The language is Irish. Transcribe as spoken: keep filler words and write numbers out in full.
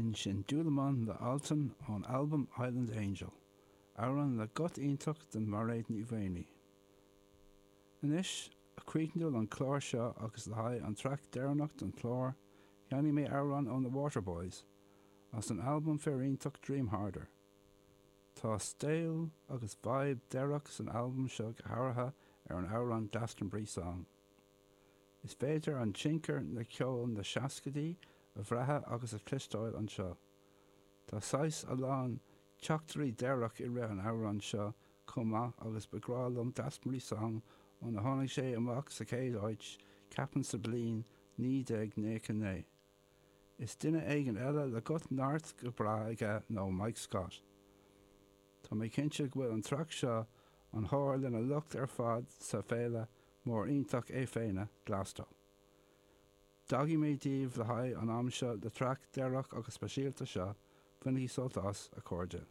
B'in sin Dúlamán le Altan ón albam Island Angel, amhrán le guth iontach den Mhairéad Ní Mhaonaigh. Anois a chríochnú an clár seo agus le haghaidh an traic deireanach den chlár, sheinfidh mé amhrán ó na Waterboys, as an albam fíoriontach Dream Harder. Tá stíl agus vibe deireach san albam seo go háirithe ar an amhrán Glastonbury Song. Is féidir an tionchar na ceol na seascaidí a bhrath agus a chloisteáil anseo. Tá saghas a lán teachtairí deireach i rith an amhrán seo chomh maith agus ba ghrá liom Glastonbury Song óna tháinig sé amach sa chéad áit ceapaim sa bliain naoi déag nócha naoi. Is duine éigin eile le guth neart go breá aige nó Mike Scott. Tá mé cinnte go bhfuil an traic seo an thóir lena lucht ar fad sa féile mór iontach é féin Glasto. D'fhágfaidh mé daoibh le haghaidh an am seo le traic deireach agus speisialta seo, bainigí sult as a chairde.